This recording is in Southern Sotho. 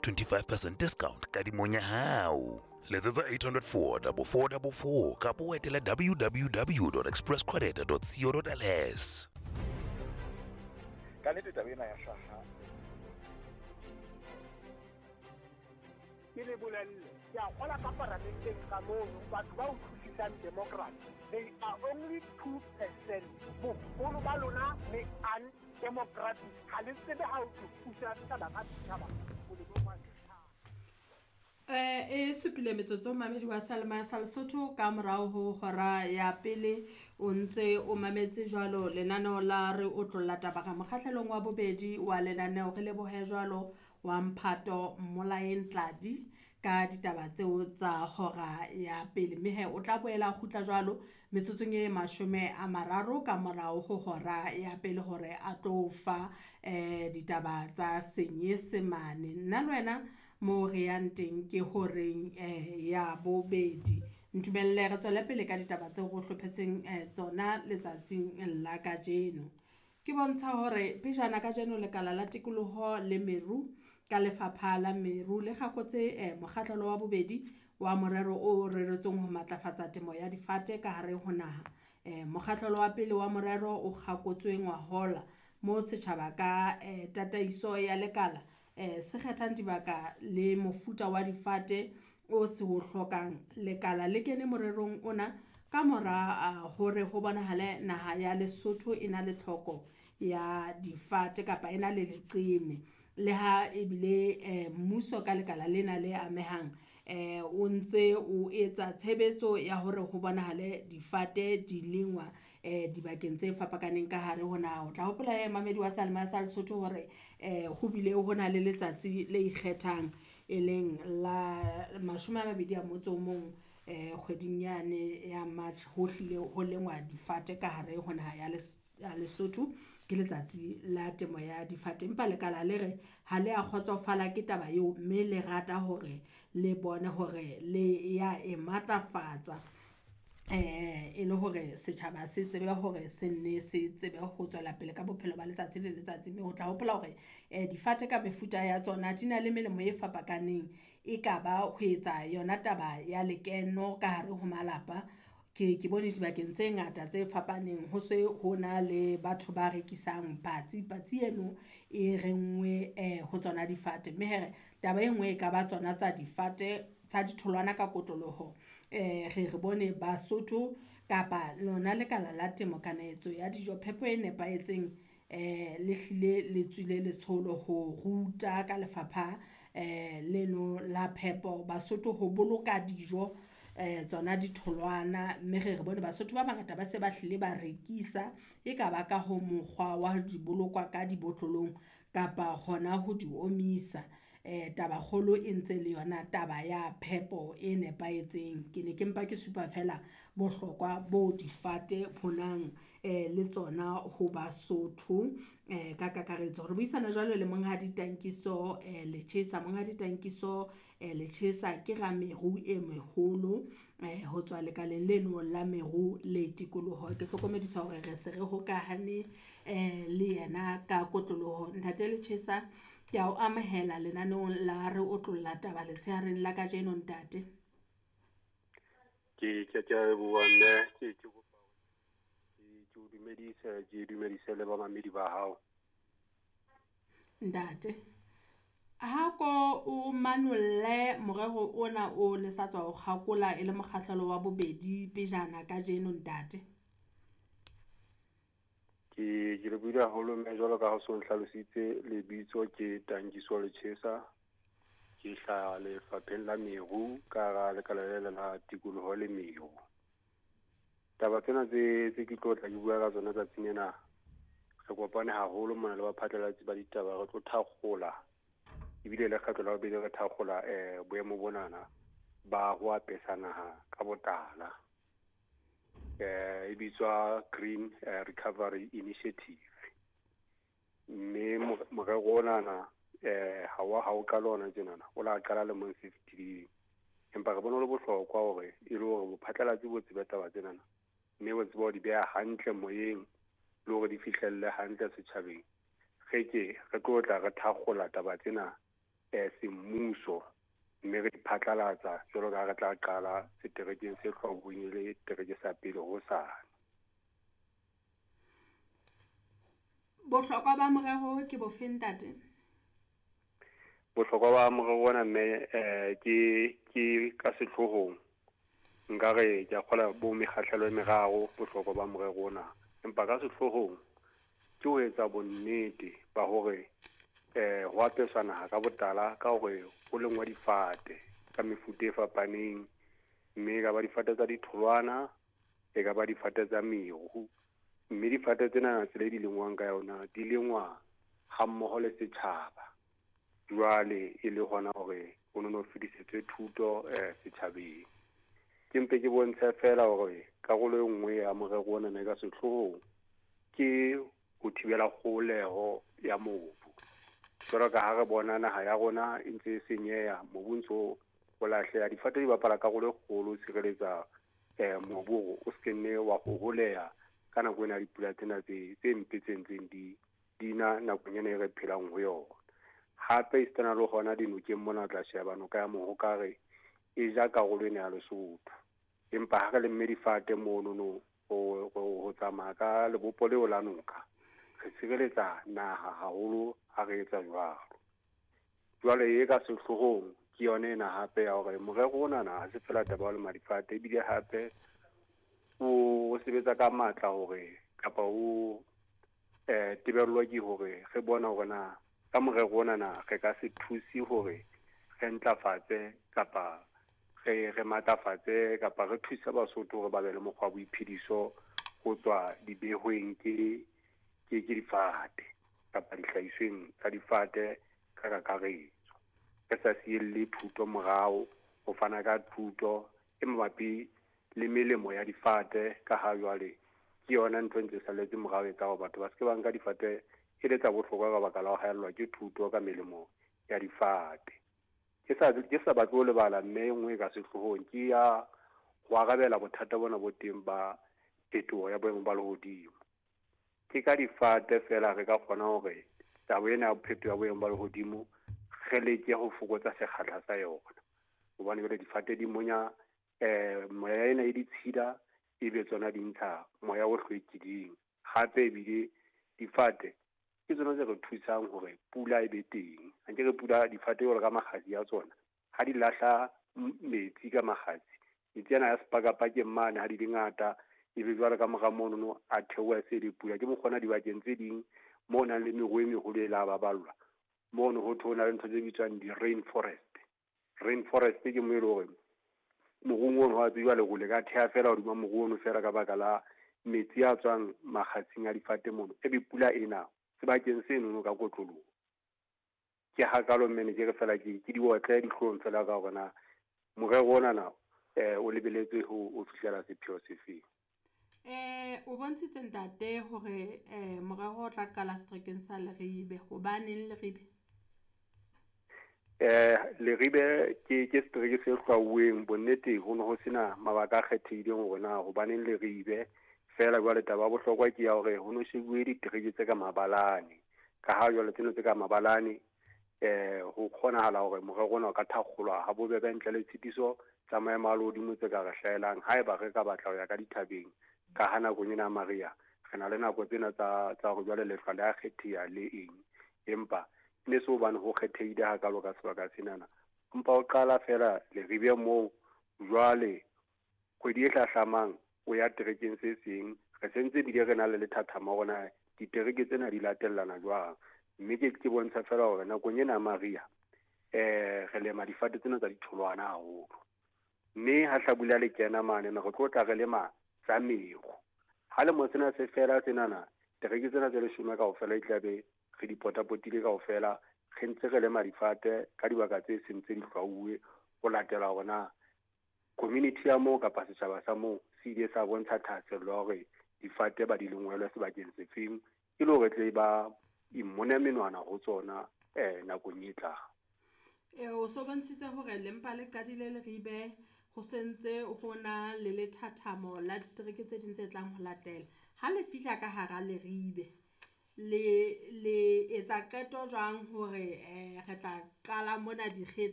25% discount kadimong ya hao. Letsetsa 804 4444 kapa o etele www.expresscredit.co.ls. Ka nnete taba ena ya hlaha. Ke le bolelle, ke a kgola ka paramenteng ka mono, batho ba utlwisisang democracy, they are only 2%. Boholo ba lona le undemocratic, ha le tsebe ha o thusa setjhaba ka setjhaba molemong wa setjhaba. E supile metsotso mamedi wa Salma sa Lesotho ka morao ho hora ya pele o ntse o mametse jwalo lenaneo la re otlolla taba ka mokgahlelong wa bobedi wa lenaneo. Re lebohe jwalo wa Mphato Mmolaeng Tladi ka ditaba tseo tsa hora ya pele, mme he o tla boela kgutla jwalo metsotsong e 30 ka morao ho hora ya pele hore a tlo fa ditaba tsa Senyesemane. Nna le wena mo re yang teng ke horeng ya bobedi. Ntumelle re tswele pele ka ditaba tseo re hlophetseng tsona letsatsing la kajeno. Ke bontsha hore pejana kajeno lekala la tikoloho le meru ka lefapha la meru le kgakotse mokgahlelo wa bobedi wa morero o reretsweng ho matlafatsa temo ya difate ka hare ho naha. Mokgahlelo wa pele wa morero o kgakotswe ngwahola mo setjhaba ka tataiso ya lekala se kgethang dibaka le mofuta wa difate o se o hlokang. Lekala le kene morerong ona ka mora hore ho bonahale naha ya Lesotho e na le tlhoko ya difate kapa e na le leqeme. Le ha ebile mmuso ka lekala lena le amehang o ntse o etsa tshebetso ya hore ho bonahale difate di lengwa dibakeng tse fapakaneng ka hare ho naha. O tla hopola mamedi wa Salma sa Lesotho hore ho bile ho na le letsatsi le ikgethang e leng la 21 kgweding yane ya March, ho hlile ho lengwa difate ka hare ho naha ya Lesotho. Ke letsatsi la temo ya difate, empa lekala le re ha le a kgotsofala ke taba eo, mme le rata hore le bone hore le ya e matlafatsa e le hore setjhaba se tsebe hore se nne se tsebe ho tswela pele ka bophelo ba letsatsi le letsatsi. Mme o tla hopola hore difate ka mefuta ya tsona di na le melemo e fapakaneng, e ka ba ho etsa yona taba ya lekeno ka hare ho malapa. Ke bone dibakeng tse ngata tse fapaneng ho se ho na le batho ba rekisang patsi, patsi eno e rengwe ho tsona difate. Mme here taba e nngwe e ka ba tsona tsa difate tsa ditholwana ka kotloloho. Re bone Basotho kapa lona lekala la temo kanetso ya dijo phepo e nepahetseng le hlile le tswile letsholo ho ruta ka lefapha leno la phepo Basotho ho boloka dijo tsona ditholwana. Mme re bone Basotho ba bangata ba se ba hlile ba rekisa, e ka ba ka ho mokgwa wa di bolokwa ka dibotlolong kapa hona ho di omisa. Taba kgolo e ntse le yona taba ya phepo e nepahetseng. Ke ne ke mpa ke supa fela bohlokwa bo difate bonang le tsona ho Basotho ka kakaretso. Re buisana jwalo le Monghadi Tankiso Lechesa. Monghadi Tankiso Lechesa ke rameru e meholo ho tswa lekaleng leno la meru le tikoloho. Ke hlokomedisa hore re se re hokahane le yena ka kotloloho. Ntate Lechesa, ke a o amohela lenaneong la re otlolla taba letshehareng la kajeno ntate. Ke a leboha mme, ke kopa ke o dumedise, ke dumedise le bamamedi ba hao. Ntate, ha ko o manolle morero ona o le sa tswa ho kgakola e le mokgahlelo wa bobedi pejana kajeno ntate. Ke lebohile haholo mme, jwalo ka ha o so nhlalositse, lebitso ke Tankiso Lechesa, ke hlaha lefapheng la meru ka hara lekala le la tikoloho le meru. Taba tsena tse ke tlo tla ke bua ka tsona tsatsing lena, re kopane haholo mona le baphatlalatsi ba ditaba, re tlo thakgola ebile le kgetlo la bobedi re thakgola boemo bonana ba ho apesa naha ka botala. E bitswa Green Recovery Initiative. Mme morero onana ha o qala hona tjenana, o la qala lemong se fetileng. Empa re bona ho le bohlokwa hore e le hore bophatlalatsi bo tsebe taba tsenana, mme bo tsebe ho di beha hantle moyeng le hore di fihlelle hantle setjhabeng. Re ke re tlo tla re thakgola taba tsena Semmuso, mme re di phatlalatsa jwalo ka ha re tla qala seterekeng se hlwauweng e le tereke sa pele hosane. Bohlokwa ba morero ke bofe ntate? Bohlokwa ba morero ona mme ke ka sehloohong nkare ke a kgola bo mekgahlelo e meraro bohlokwa ba morero ona, empa ka sehloohong ke ho etsa bonnete ba hore ho apeswa naha ka botala ka hore ho lengwa difate ka mefuta e fapaneng, mme e ka ba difate tsa ditholwana, e ka ba difate tsa meru, mme difate tsena tsela e di lengwang ka yona di lengwa ha mmoho le setjhaba. Jwale e le hona hore ho no fetisetswe thuto setjhabeng. Ke mpe ke bontshe feela hore karolo e nngwe ya morero ona e ka sehloohong ke ho thibela kgoholeho ya mobu. Jwalo ka ha re bona naha ya rona e ntse e senyeha, mobu ntso o lahleha, difate di bapala karolo e kgolo ho tshireletsa mobu hore o se nne wa hoholeha ka nako ena ya dipula tsena tse mpe tse ntseng di na nakong ena e re phelang ho yona. Hape esitana le hona dinokeng mona o tla sheba noka ya Mohokare e ja karolo ena ya Lesotho, empa ha re lemme difate monono ho tsamaya ka lebopo leo la noka, re tshireletsa naha haholo ha re etsa jwalo. Jwale e ka sehloohong ke yona ena hape ya hore morero onana ha se feela taba ya ho lema difate, ebile hape o sebetsa ka matla hore kapa o tebellwa ke hore re bona hore na ka morero onana re ka se thuse hore re ntlafatse kapa re matlafatse kapa re thuse Basotho hore ba be le mokgwa wa boiphediso ho tswa dibehweng ke difate kapa dihlahisweng tsa difate ka kakaretso. Re sa sielle thuto morao, ho fana ka thuto e mabapi le melemo ya difate ka ha jwale ke yona ntho e ntse salletse morao e etsa hore batho ba se ke ba nka difate e le tsa bohlokwa ka baka la ho haellwa ke thuto ka melemo ya difate. Ke sa batle ho lebala mme e nngwe e ka sehloohong ke ya ho arabela bothata bona bo teng ba phetoho ya boemo ba lehodimo. Ke ka difate feela re ka kgona hore taba ena ya phetoho ya boemo ba lehodimo re leke ho fokotsa sekgahla sa yona, hobane jwale difate di monya moya ena e ditshila, ebe tsona di ntsha moya o hlwekileng. Hape ebile difate ke tsona tse re thusang hore pula e be teng. Ha nke re pula difate jwalo ka makgasi a tsona, ha di lahla metsi ka makgasi, metsi ana ya sepakapakeng mane ha di le ngata, ebe jwale ka mora monono a theoha se le pula. Ke mokgona dibakeng tse ding moo nang le meru e meholo e la baballwa, mono ho thwe ho na le ntho tse bitswang di-rain forest. Rain forest ke mo e le hore morung ono wa tsejwa lerole ka theha feela hodima moru ono feela ka baka la metsi a tswang makgasing a difate mono, ebe pula ena sebakeng senono ka kotloloho. Ke hakalo mme ne ke re feela ke diotle dihlong feela ka hore na morero onana o lebeletse ho fihlela sepheo sefeng. O bontshitse ntate hore morero o tla qala seterekeng sa Leribe. Hobaneng Leribe? Leribe ke setereke se hlwauweng. Bonnete ho ne ho sena mabaka a kgethehileng hore na hobaneng Leribe. Feela jwale taba ya bohlokwa ke ya hore ho no shebuwe ditereke tse ka mabalane, ka ha jwale tsena tse ka mabalane ho kgonahala hore morero ona o ka thakgolwa ha bobebe ntle le tshitiso tsa maemo a lehodimo tse ka re hlahelang haeba re ka batla ho ya ka dithabeng. Ka ha nakong ena ya mariha re na le nako tsena tsa hore jwale lehlwa le a kgetheha le eng, empa ne se hobane ho kgethehile hakalo ka sebaka senana. Empa o qala feela Leribe moo, jwale kgwedi e hlahlamang o ya terekeng se seng. Re sentse ebile re na le lethathama hore na ditereke tsena di latellana jwang, mme ke bontsha feela hore nakong ena ya mariha re lema difate tsena tsa ditholwana haholo, mme ha hlabula le kena mane re tlo tla re lema tsa meru. Ha lemo sena se fela senana, tereke tsena tse 10 kaofela e tla be re di potapotile kaofela, re ntse re lema difate ka dibaka tse seng tse di hlwauwe ho latela hore na community ya moo kapa setjhaba sa moo se ile sa bontsha thahasello ya hore difate ba di lengwelwe sebakeng sefeng, e le hore tle ba immone menwana ho tsona nakong e tlang. O so bontshitse hore lempa le qadile Leribe, ho sentse ho na le lethathamo la ditereke tse ding tse tlang ho latela. Ha le fihla ka hara Leribe, Le le etsa qeto jwang hore re tla qala mona dikge.